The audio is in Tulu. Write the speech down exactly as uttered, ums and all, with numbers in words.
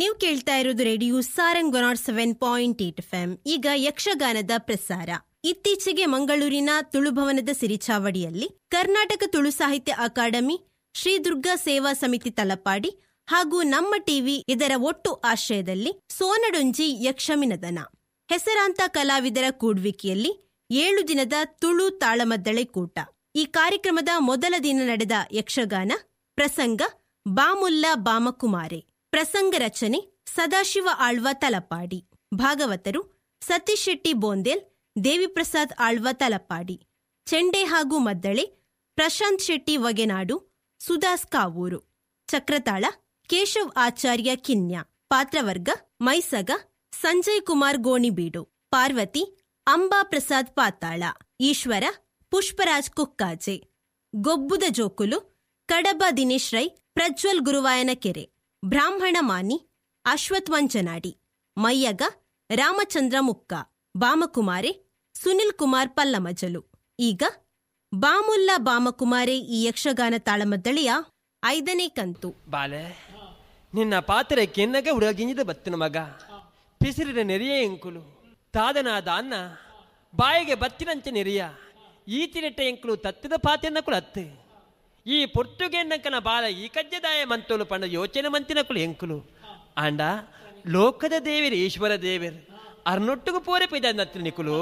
ನೀವು ಕೇಳ್ತಾ ಇರೋದು radio Sarang one nought seven point eight F ಈಗ ಯಕ್ಷಗಾನದ ಪ್ರಸಾರ. ಇತ್ತೀಚೆಗೆ ಮಂಗಳೂರಿನ ತುಳುಭವನದ ಸಿರಿಚಾವಡಿಯಲ್ಲಿ ಕರ್ನಾಟಕ ತುಳು ಸಾಹಿತ್ಯ ಅಕಾಡೆಮಿ, ಶ್ರೀ ದುರ್ಗಾ ಸೇವಾ ಸಮಿತಿ ತಲಪಾಡಿ ಹಾಗೂ ನಮ್ಮ ಟಿವಿ ಇದರ ಒಟ್ಟು ಆಶ್ರಯದಲ್ಲಿ ಸೋನಡೊಂಜಿ ಯಕ್ಷಮಿನದನ ಹೆಸರಾಂತ ಕಲಾವಿದರ ಕೂಡ್ವಿಕೆಯಲ್ಲಿ ಏಳು ದಿನದ ತುಳು ತಾಳಮದ್ದಳೆ ಕೂಟ. ಈ ಕಾರ್ಯಕ್ರಮದ ಮೊದಲ ದಿನ ನಡೆದ ಯಕ್ಷಗಾನ ಪ್ರಸಂಗ ಬಾಮುಲ್ಲ ಬಾಮಕುಮಾರೆ. ಪ್ರಸಂಗ ರಚನೆ ಸದಾಶಿವ ಆಳ್ವ ತಲಪಾಡಿ. ಭಾಗವತರು ಸತೀಶ್ ಶೆಟ್ಟಿ ಬೋಂದೇಲ್, ದೇವಿಪ್ರಸಾದ್ ಆಳ್ವ ತಲಪಾಡಿ. ಚೆಂಡೆ ಹಾಗೂ ಮದ್ದಳೆ ಪ್ರಶಾಂತ್ ಶೆಟ್ಟಿ ವಗೆನಾಡು, ಸುದಾಸ್ ಕಾವೂರು. ಚಕ್ರತಾಳ ಕೇಶವ್ ಆಚಾರ್ಯ ಕಿನ್ಯಾ. ಪಾತ್ರವರ್ಗ ಮೈಸಗ ಸಂಜಯ್ ಕುಮಾರ್ ಗೋಣಿಬೀಡು, ಪಾರ್ವತಿ ಅಂಬಾ ಪ್ರಸಾದ್ ಪಾತಾಳ, ಈಶ್ವರ ಪುಷ್ಪರಾಜ್ ಕುಕ್ಕಾಜೆ, ಗೊಬ್ಬುದ ಜೋಕುಲು ಕಡಬ ದಿನೇಶ್ ರೈ, ಪ್ರಜ್ವಲ್ ಗುರುವಾಯನಕೆರೆ, ಬ್ರಾಹ್ಮಣ ಮಾನಿ ಅಶ್ವಥ್ ಮಂಜನಾಡಿ, ಮಯ್ಯಗ ರಾಮಚಂದ್ರ ಮುಕ್ಕ, ಬಾಮಕುಮಾರೆ ಸುನಿಲ್ ಕುಮಾರ್ ಪಲ್ಲಮಜಲು. ಈಗ ಬಾಮುಲ್ಲ ಬಾಮಕುಮಾರೆ ಈ ಯಕ್ಷಗಾನ ತಾಳಮದ್ದಳೆಯ ಐದನೇ ಕಂತು. ಬಾಲೆ, ನಿನ್ನ ಪಾತ್ರೆ ಕೆನ್ನಗ ಉಡಗಿಂಜಿದ ಬತ್ತಿನ ಮಗ ಪಿಸಿರಿನ ನೆರಿಯ ಎಂಕುಲು ತಾದನಾದ ಅನ್ನ ಬಾಯಿಗೆ ಬತ್ತಿನಂಚೆ ನೆರಿಯ ಈತಿನೆಟ್ಟ ಎಂಕುಲು ತತ್ತಿದ ಪಾತೆನ್ನಕುಲು ಅತ್ತೆ ಈ ಪೊರ್ತುಗೆನ್ನಕನ ಬಾಲ ಈ ಕಜ್ಜದಾಯ ಮಂತೋಲು ಪಂಡ ಯೋಚನೆ ಮಂತಿನಕುಲು ಎಂಕುಲು ಆಂಡ ಲೋಕದ ದೇವರು ಈಶ್ವರ ದೇವರು ಅರ್ನೊಟ್ಟಿಗೂ ಪೋರೆ ಪೈದ ನತ್ತಿನ ನಿಕುಲು.